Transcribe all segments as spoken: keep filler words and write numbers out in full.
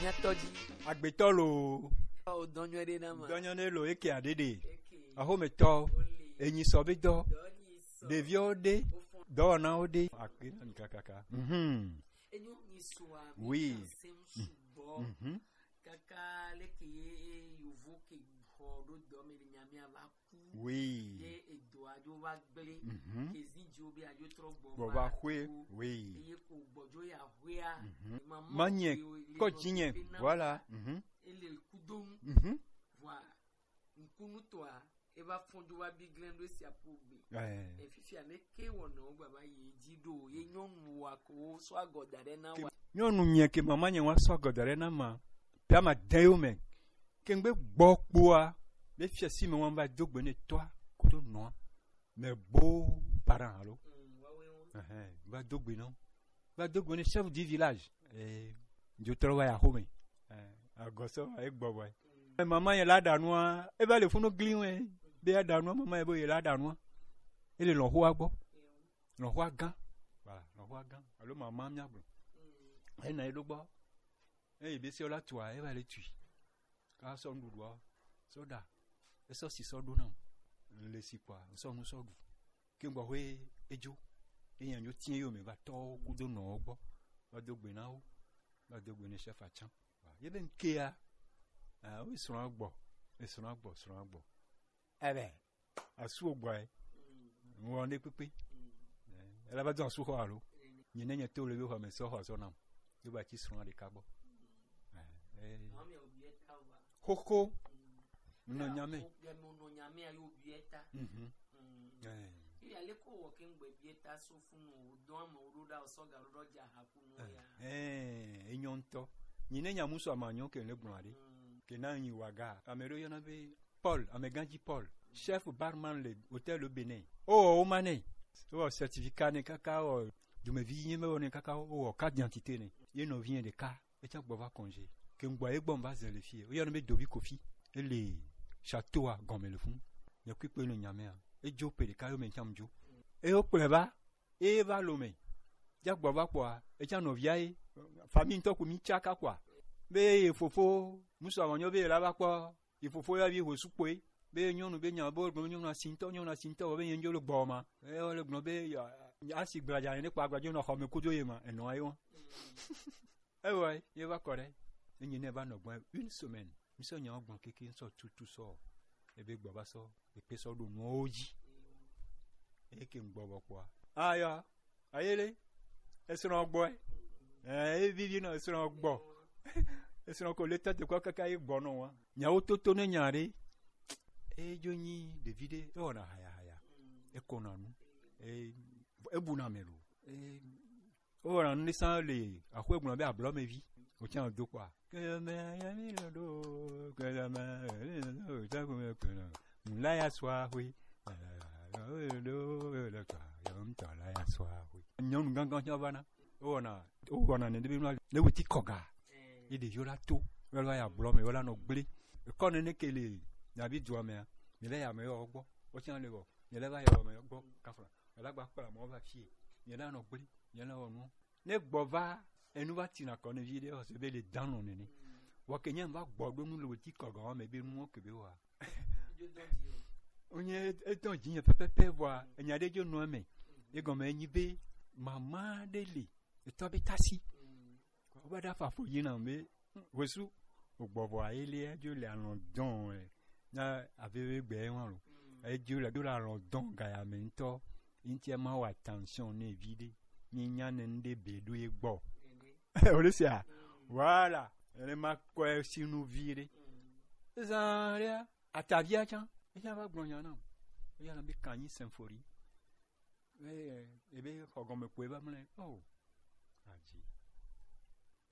Nyatɔ dzi. Agbetɔ lo. O dɔnyɔ ɖe na ma. Dɔnyɔ ne lo eke aɖeɖe. Eke. Axometɔ. Ole. Enyi sɔ be dɔ. Dɔ nyi sɔ. Ɖeviwo ɖe. Ofɔn. Dɔwɔnawo ɖe. Akpe na mi kakaka. Mhm. Enyo nyi sɔa. Oui. Mi ka sem sugbɔ. Mhm. Kaka leke ye yovo ke xɔ ɖo dɔ me le nya mi ava Oui. Ye edo adzo va gblẽ. Mhm. Ke zi dziwo be adzo trɔ gbɔ Gbɔ va va xwe. Ku. Oui. Eye ko gbɔdzo ya xwea. Mhm. Ema mɔ Manye, ke le kɔ nɔ dzinye. Be na Voilà. Mhm. Ele kudo ŋu. Mhm. Vɔa, ŋkunutɔa, eva fɔn dzo va bi gblẽ ɖo esia ƒo gbe. Eh. Efifia ne ke wɔnɔ wo gbava yi dzi ɖo, ye nyɔnu wa ko wo sɔ agɔ da ɖe na Ke wa. Nyɔnu mia ke mama nye wa sɔ agɔ da ɖe na ma. Pia ma de yo me. Ke ŋgbe gbɔ kpoa, be fiasi me wɔm va do gbe ne tɔa kudo nɔa. Me bo parent alo. Mm, wa we wo. Ɛhɛn, va do gbe nɔ. Va do gbe ne chef du village. Eh, dzo trɔ va ya xome. Eh, agɔsɔ va egbɔ vɔ. Mm. Eh, mama ye la ɖa nua, e va le funu gli we. Be ya ɖa nua, mama ye bo ye la ɖa nua. E le lɔxoa gbɔ. Lɔxoa gã. Voilà, lɔxoa gã. Alo mama mia gblɔ. Mm. E na ye ɖo gbɔ. Eye be se la tua, e va le tui. Ka sɔ nuɖuɖua, sɔ ɖa, esɔ si sɔ ɖo nam, le si kpɔa, ŋsɔ nu sɔ ɖu. Ke ŋgbɔ hoe edzo, enya nyo tiɛ yo me va tɔ kudo nɔ gbɔ, va do gbe na wo, va do gbe ne chef atsan. Ye be ŋkea, ah, wo srɔ̃ gbɔ, srɔ̃ gbɔ, srɔ̃ gbɔ. Ebe, asu gbɔ e. Ŋwɔ ne kpekpe. Eh, ela va do asu xɔ alo. Nye ne nye to le be xɔ me sɔ xɔ sɔ nam. Yo ba tsi srɔ̃ ɖeka gbɔ. Eh, eh. Xoxo. Nɔ nya me. Mhm. Eh. Iya le ko wɔ ke ŋgbe bieta so funu o, dɔn ame wo ɖo ɖa o sɔ ga ɖo ɖɔ dza ha funu ya. Eh, enyɔ ŋutɔ. Nyi ne nya musu amanyɔ ke le gblɔ ɖe. Mm. Ke na nyi waga. Ame ɖo yɔna be Paul, amegãdzi Paul, chef barman le hôtel au Bénin. O wɔ wo ma nɛ. O wɔ certificat nɛ kaka wɔ dumevi nye me wɔ nɛ kaka o wɔ carte d'identité nɛ. Ye nɔvi yɛ ɖeka. Etsã gbɔ va congé. Ke ŋgbɔ ye gbɔ va zɛ le fie. Woyɔna be Dovi Kofi. Ele château a gɔme le fun. Nye kui kpe le nyamea. Edzo pe ɖeka yo me ŋtsam dzo. Eyo kplɔe va. Eye va lo me. Dza gbɔ va kpɔa. Etsã nɔvia ye. Famille ŋutɔ ko mi tsaka kpɔa. Be ye fofo. Musu awɔ nyɔ be ye la va kpɔ. Yi fofo ya vi ho sukpoe. Be nyɔnu be nya bo gblɔ nyɔnu asintɔ, nyɔnu asintɔ be nye ndzo le gbɔ ma. E wo le gblɔ be ya, asi gblaja ne kpa gblajo nɔ xɔ me kudo ye ma, enɔ ayi wa. Ewa, ye va kɔ ɖe. Enyi ne va nɔ gbɔ une semaine. Mi sɔ nya gbɔ keke sɔ tutu sɔ. Ebe gbɔ va sɔ, ekpe sɔ ɖo nuwo dzi. Eke gbɔ bɔ kpɔa. Aya, Ayele, esrɔ̃ gbɔe. Eh, evivi nɔ esrɔ̃ gbɔ. Esrɔ̃ ko le tete kɔ kaka ye gbɔ nɔ wa. Nyawo toto ne nya ɖe. Edzo nyi ɖevi ɖe, ewɔna haya haya. Ekɔna nu. E, ebuna me lo. E, ewɔna nu ɖe sã le axwe gblɔ be ablɔ me vi. Wotsa do kpɔa. Kɛmɛ yɛ mi lɔ do, kɛmɛ yɛ mi lɔ do, jago me kɛnɛ. Ŋla ya sɔ axwe. Nyɔnu gãgã tsɛ va na. Wowɔna, wowɔna nene be nua, ne woti kɔga. Ye ɖeviwo la to, wela ya blɔ me, wela nɔ gblẽ. Ekɔ nene ke le, nyabi dua mea, mi le ya me yɔ gbɔ. Wotsã le wɔ, mi le va yɔ me gbɔ, kafla. Mi la gba kpla mɔ va fie. Mi la nɔ gblẽ, mi la wɔ nu. Ne gbɔ va, enu va tina kɔ ne vi ɖe, ɔse be le dan nɔ nene. Wɔ ke nye va gbɔ ɖo nu le woti kɔga me be nuwo ke be wa. Wonye etɔn dzi nye pɛpɛpɛ vɔa enya ɖe dzo nɔ eme. Egɔme enyi be mama ɖe li etɔ be tasi. Wobe ɖe afa fo yi na be wesu ogbɔ vɔa ye le edzo le alɔ dɔn ɛ na aveve gbe ɛ wa lo. Edzo le do le alɔ dɔn gaya me ŋutɔ. Ŋutia ma wa attention ne vi ɖe. Nyi nya ne ŋɖe be ɖo ye gbɔ. Wole sia? Voilà. Ene ma kɔe sinu vi ɖe. Zan ɖe, atavia tsã. Eya va gblɔ nya nam. Eya na be Kanyi Symphony. Eh, ebe xɔ gɔme kpoe va mlɛ. Oh. Adzi.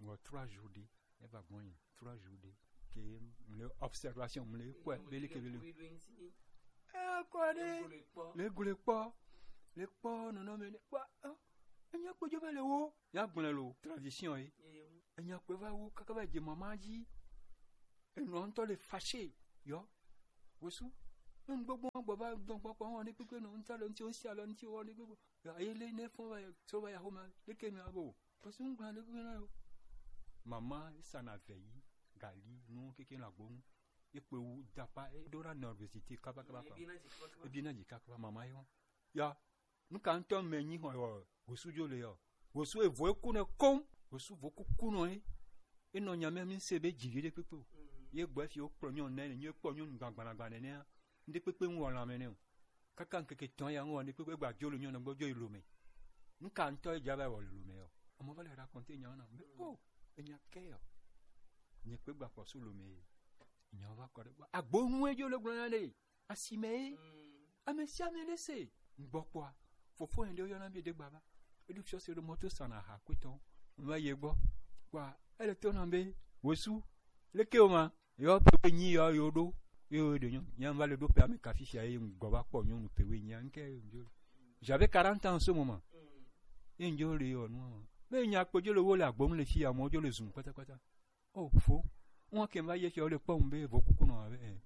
Ŋgɔ trois jours ɖe. Eva gbɔ nyi. Trois jours ɖe. Ke mle observation mle kɔe. Bele ke bele. Eh, kɔe ɖe. Le gule kpɔ. Le kpɔ nɔnɔme ne. Kpɔ. Oh. Enya kpɔdzo va le wo. Ya gblẽ lo. Tradition ye. Enya kpe va wo kaka va dze mama dzi. Enɔ ŋutɔ le fâché. Yɔ. Wosu. Nyɔnu gbogbo gbɔ va dɔn kpɔkpɔ wɔ ne kpekpe nɔ ŋutɔ le ŋuti wosi alɔ ŋuti wɔ ne gbogbo. Yɔ, eye le ne fɔn va so va ya xɔme. Leke mi abo. Wosu ŋgblɔ ne kpekpe na yo. Mama, e sana vɛyi, gali, nu keke la gbonu. E kpe wu dapa, e do la nervosité kaba kaba kaba. E bi na dzi kaba kaba, mama yo. Ya, nu ka ŋutɔ me nyi xɔ yɔ, wosu dzo le yɔ. Wosu evo eku ne kom, wosu vo kuku nɔ ye. E nɔ nya me mi se be dzi vi ɖe kpekpe o. Ye gbɔ fi wo kplɔ nyɔnu ne, nyi kpɔ nyɔnu gbagbagba nene. Ŋɖe kpekpe ŋu wɔla me ne o. Kaka ŋkeke tɔn ya ŋu wɔ ŋɖe kpekpe gba dzo le nyɔnu gbɔ dzo yi lome. Nu ka ŋutɔ ye dza va wɔ le lome yɔ. Amo va le raconter nya na me. Oh, enya ke yɔ. Nye kpe gba kpɔ su lome. Nya va kɔ ɖe gbɔ. Agbo ŋu edzo le gblɔ na ɖe. Asime ye. Ame sia ame ɖe se. Ŋgbɔ kpɔa. Fofo yɛn ɖe yɔ na mi de gba va. Eɖo fiɔ se ɖo mɔto sana ha kpetɔ. Va ye gbɔ. Kpɔa, ele to na be. Wosu. Leke o ma. Yɔ pe nyi yɔ yo ɖo. Yo ɖe nyɔ. Nya va le ɖo pe ame ka fifia ye ŋgɔ va kpɔ nyɔnu pe we nya ŋke yo ŋdzo. J'avais quarante ans en ce moment. Ye ŋdzo le yɔ nu. Me nya kpe dzo le wo le agbonu le fi ya mo dzo le zum kpatakpata. Oh, fo. Ŋwa ke va ye fi wo le kpɔ ŋbe vo kuku nɔ ave.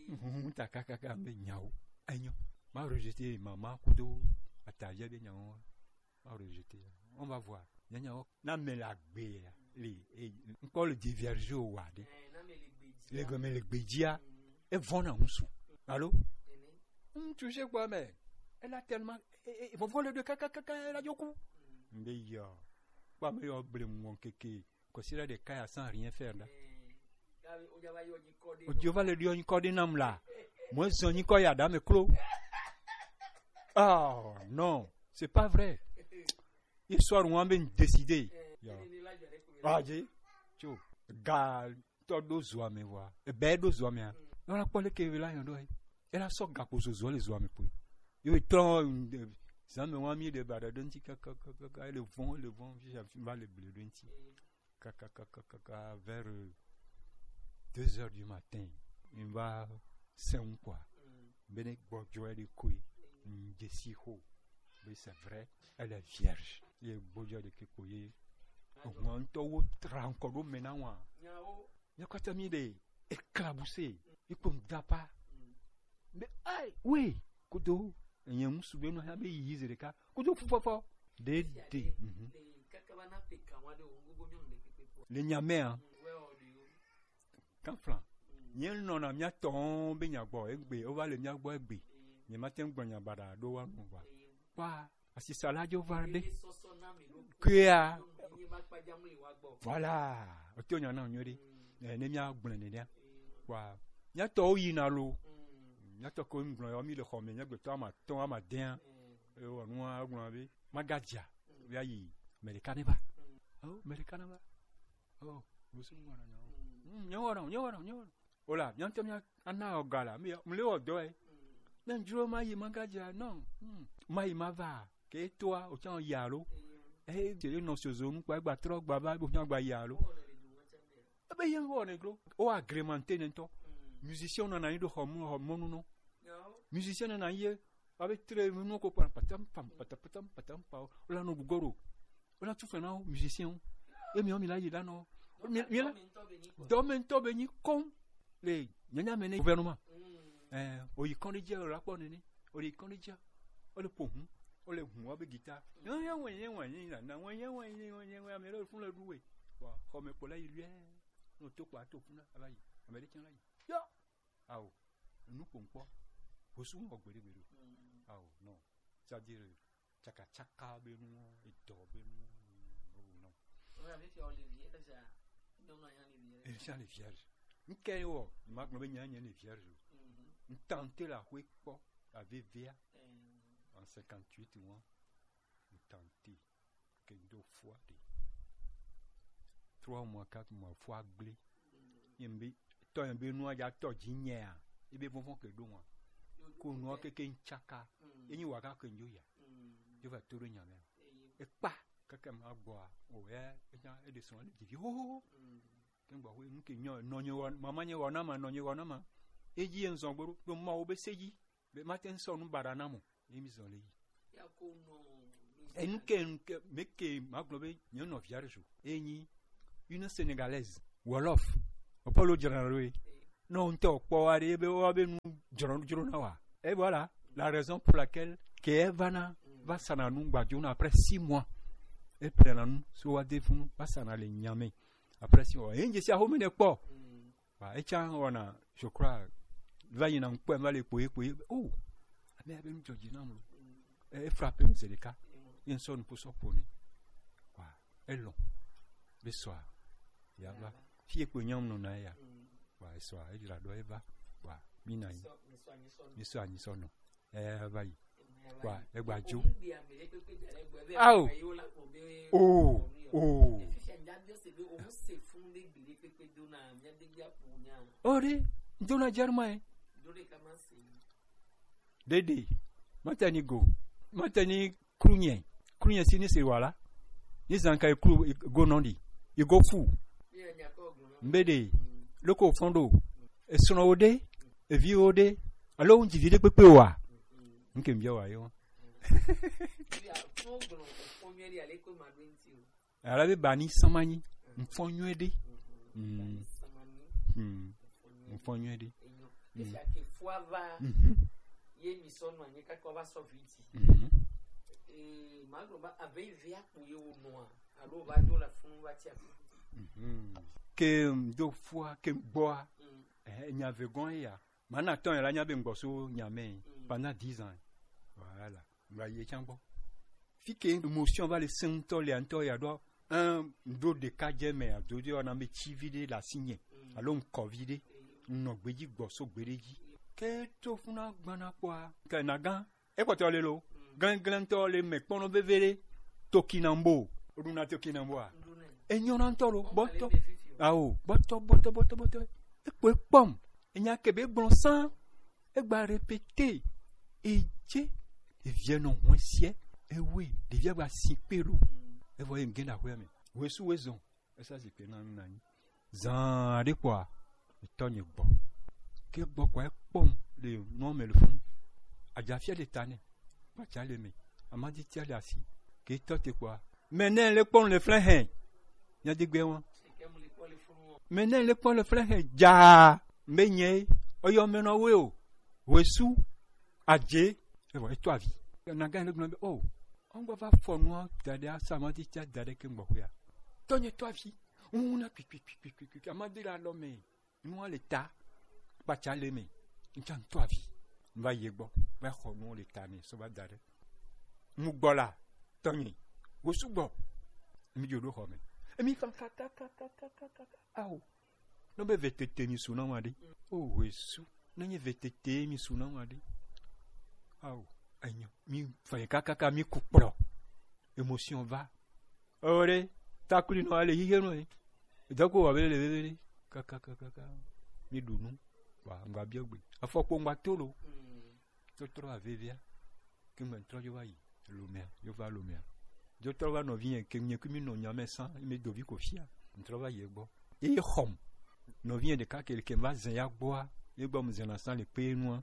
Ŋu ta kakaka ŋbe nyawo. Enyo. Ma rejeter mama kudo. Ata ye be nyawo. Ma rejeter. On va voir. Nya nyawo. Na me la gbe ya. Le, eh, encore le diverger au wade. Le gomme le gbedia. E vona musu. Allô? Hum, tu sais quoi, mais elle a tellement, eh, eh, vovole de kaka, kaka, elle a du coup. Mbe yo. Kpɔ ame yɔ ble mu wɔn keke. Kɔsi la ɖeka ya sans rien faire la. O Jehovah le ɖo nyikɔ ɖe nam la. Mo zɔn nyikɔ ya da me klo. Oh non, c'est pas vrai. Histoire ŋu be décidé. Yo. Ah, je. Tso. Ga tɔ ɖo zoa me wa. Ebe ɖo zoa me a. Nɔ la kpɔ le ke la yɔ ɖo. Ela sɔ gakpo zozo le zoa me kpoe. Yo trɔ zame wa mi de ba ɖe ŋti kaka kaka ele vɔn ele vɔn fi va le ble ɖe ŋti. Kaka kaka kaka vers deux heures du matin. Mi va sɛn quoi. Bene gbɔdzɔ ɖe koe. Ŋdze si xo. Mais c'est vrai, elle est vierge. Ye gbɔdzɔ ɖe ke kpo ye. Ŋua ŋutɔ wo tra ŋkɔ ɖo me na wa. Míakpata mi ɖe éclaboussé, ikpɔ ŋdapa. Be ai we kudo enye ŋusu be nɔ ya be yi ze ɖeka kudo fufɔfɔ ɖe ɖe. Le nyamea kan flan nye nɔna mía tɔn be nya gbɔ egbe o va le mía gbɔ egbe. Nye ma te ŋgblɔ nya baɖa ɖo wa nu va kpa asisa la dzo va ɖe kea. Voilà, o to nya na nyuie ɖe. Eh, ne mía gblẽ nenea kpa mía tɔwo yina lo. Mía tɔ ko ŋgblɔ yɔ mi le xɔ me mía gbetɔ ama tɔn ama dɛn. Ewɔ nua gblɔ be magadzia ya yi Amerika ne va. Oh, Amerika ne va. Oh, wosu ŋgɔ na nyawo. Nyawo na nyawo na nyawo. Ola mía ŋutɔ mía ana ɔga la mi le wɔ dɔ ye. Ne ŋdzro ma yi magadzia non. Ma yi ma va ke toa o tsã ya lo. Eh, te nɔ sozo nu kpa gba trɔ gba va bo nya gba ya lo. Ebe ye ŋgɔ ne glo o agrémenté ne ŋutɔ. Musicien nɔ na yi ɖo xɔ mɔnu nɔ. Musicien nɔ na yi ye abe tre nu ko pa patam pam patam patam patam pa o la nɔ gugoro. Wona tu fɛn na wo musicien wo. Emi wo mi la yi la nɔ. Mi mi la dɔme ŋutɔ be nyi kɔm le nyanya me ne gouvernement. Eh, oyi kɔn ɖe dzi la kpɔ nene. Oyi kɔn ɖe dzi. Ole po hun. Ole hun wa be guitar. Nyanya wɛ nyanya wɛ nyanya na wɛ nyanya wɛ nyanya wɛ ame le fun le du we. Wa xɔ me kpɔ la yi luɛ. No to kpa to fun la la yi. Ame ɖe tsã la yi. Yo. Ao, nu ƒom kpɔ. Hosu wɔ gbeɖe gbeɖe o. Ao, non. C'est-à-dire, tsakatsaka be nu, edɔ be nu, oh non. Esa le vierge. Ŋkɛ wɔ, ma gblɔ be nya nye le vierge o. Ŋtante la hoe kpɔ, la vevea. En cinquante-huit mois, ŋtante. Ke do fua de. Trois mois, quatre mois, fua gblẽ. Ye be tɔ ye be nua dza tɔ dzi nyea. Ye be vɔvɔ ke do wa. Ko nua keke ntsaka. Ye nyi wa ka ke ndzo ya. Ye va to ɖo nya me. Ekpa keke ma gbɔa. O ye enya e de srɔ̃ le dzivi ho ho ho. Ke gbɔ ho nu ke nyɔ nɔ nye wa mama nye wa na ma nɔ nye wa na ma. Edzi ye nzɔ gboro do ma wo be se dzi. Be mate ŋu sɔ nu baɖa na mo. Ye mi zɔ le yi. Enu ke enu ke me ke ma gblɔ be nye nɔvia ɖe so. Enyi une Sénégalaise Wolof. Opolo dzra ɖo ye. Non ŋutɔ kpɔ wa ɖe be wa be nu dzro dzro na wa. Et voilà la raison pour laquelle ke va na va sana nu gbadzo na après six mois. E plena nu so wa de funu, wa sana le nya me. Après si o, e nje si a home ne kpɔ. Wa, e can wɔna, je crois, va yina ŋkpɔe, va le kpoe, kpoe. Oh, ame abe nu dzɔdzi nam lo. E, e frappe mi se ɖeka. Ye ŋsɔ nu po sɔ po ne. Wa, e lɔn. Be sɔa. Ya va. Fi e kpo nyam nɔ na ya. Wa, e sɔa, e dzra ɖo e va. Wa, mi na yi. Mi sɔ anyi sɔ nɔ. E va yi. Wa, e gba jo. Ao. Oh, oh. Ore, ŋdo na Germain. Dede. Matani go. Matani krunye. Krunye si ni se wala. Ni zanka e kru, e go nondi. E go fu. Mbede. Loko fondo. E sono ode. E vi ode. Alo un divide pepe wa. Nke mbia wa yo. Ala be bani samanyi. Mfo nyuede. Mm. Mm. Mfo nyuede. Mm. Mhm. Mhm. Mhm. Ke m do fua, ke m gbɔa. Eh, nya ve gɔn ya. Mana tɔn ya la nya be m gbɔ so nya me. Pendant dix ans. Voilà. Ŋgba yi can gbɔ. Fi ke émotion va le sẽŋutɔ le ŋutɔ ya ɖo, un ɖo ɖeka dze me ado ɖe wana me tsi vi ɖe le asi nye alo ŋkɔ vi ɖe nɔ gbeji gbɔ so gbe ɖe dzi. Ke to funa gbana kpɔa, ke na gã, ekpɔtɔ le lo, glenglentɔ le me kpɔnɔ veve ɖe, tokinambo, oɖuna tokinamboa, enyɔna ŋutɔ lo, bɔtɔ, ao, bɔtɔ, bɔtɔ, bɔtɔ, bɔtɔ, ekpɔ ekpɔm, enya ke be gblɔ sã, egba répéter, edze, ɖevia nɔ hwɛsiɛ, ewe, ɖevia gba si kpe ɖo, evɔ ye ŋge na hwɛ me, wesu we zɔn, esa zikpe na nu na nyi, zan ɖe kpɔa, etɔ nye gbɔ, ke gbɔ kpɔa ekpɔm le nua me le fun, adzafia le ta nɛ, kpatsa le me, amaditia le asi, ke tɔ te kpɔa, mɛ nɛ le kpɔm le flɛ hɛ, nya de gbe wa, mɛ nɛ le kpɔm le flɛ hɛ dzaa, mɛ nye, ɔyɔ mɛ nɔ we o, wesu, adze, evɔ eto avi, na gã ne gblɔ be, o, ɔngba va fɔ nua da ɖe asa amaditia da ɖe ke gbɔ hwea, tɔ nye to avi, ŋu na kpikpikpikpikpikpi, amadi le alɔ me. Nua le ta, kpatsa le me, ŋtsa ŋtɔ avi, va yi gbɔ, va xɔ nuwo le ta ne, so va da ɖe. Mu gbɔ la, tɔnye, go sugbɔ, mi dzo ɖo xɔ me. Emi fa kaka, kaka, kaka, kaka, ao. No be vetete mi su na wa ɖe. O Yesu, ne nye vetete mi su na wa ɖe. Ao, enyo, mi fa kaka, kaka, mi ku kplɔ. Émotion va. Ore, takuli no ale hihe no e. Dako wa bele bele. Kaka, kaka, kaka. Mi dunu. Wa, ngba biogbe. Afɔkpo ngba tolo. Totro avevia. Ke ngba ŋtrɔ yo va yi. Lomea, yo va lomea. Yo trɔ va nɔvi yɛ, ke nye kumi nɔ nya me sã, me dovi ko fia. Ŋtrɔ va yi gbɔ. Eye xɔm. Nɔvi yɛ ɖeka ke, ke va zɛ ya gbɔa. Ye gbɔ mu zɛ na sã le kpe nua.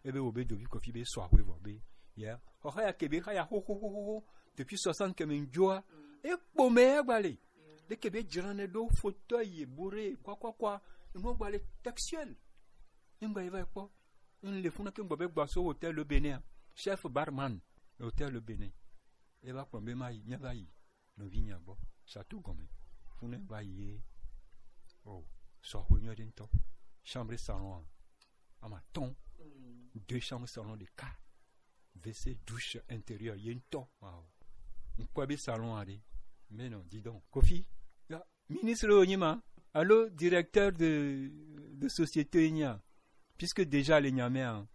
Ebe wo be dovi ko fi be sɔ axwe vɔ be. Ya. Xɔxa ya ke be xa ya ho, ho, ho, ho, ho. Depuis soixante ke me ŋdzoa. E kpo me ya gba le. Ɖe ke be dzra ne ɖo fauteuil ye bourré, quoi, quoi, quoi. Enua gba le textuel. Ye ŋgba ye va kpɔ. N le funa ke ŋgbɔ be gba so Hôtel Le Bénin. Chef barman le Hôtel Le Bénin. E va kplɔ be ma yi, mia va yi. Nɔvi nya gbɔ. Château gɔme. Funa va yi ye. O, sɔ axwe nyuie ɖe ŋtɔ. Chambre salon a. Ama tɔn. Deux chambres salon de cas. W C, douche, intérieur, ye ŋtɔ. Wow. Ŋkpɔe be salon aɖe. Mais non, dis donc. Kofi, ya, ministre wo nyi ma, alo directeur de, de société nya, puisque déjà le Niamey, hein,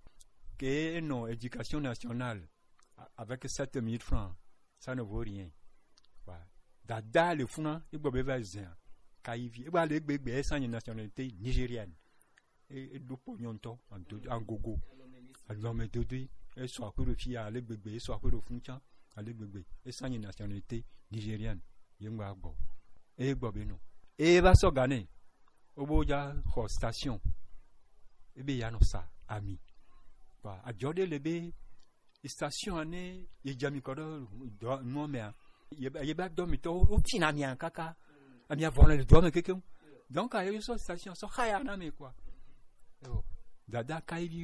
que non, éducation nationale, a-, avec sept mille francs, ça ne vaut rien. Voilà. Dada le funa, il doit besoin, kayivi, il doit le bébé, sans nationalité nigérienne. E, e ɖo kpɔ nyɔntɔ, anto-, angogo. Alɔmedodo. E sɔ akpe ɖo fi ya, ale gbegbe, e sɔ akpe ɖo fun can, ale gbegbe. E sa nye nationalité nigérienne. Ye ŋgba gbɔ. E gbɔ be nɔ. E va sɔ Ghana. O bo ja xɔ station. E be ya nɔ sa ami. Ba, ajɔ ɖe le be station ne ye dza mi kɔ ɖe dɔ nua mea, ye ba, ye ba dɔ mi tɔ, wo tina mi kaka. Ami avɔ le dɔ me kekeŋ. Donc, ayo sɔ station sɔ haya na mi quoi. Yo, dada kayivi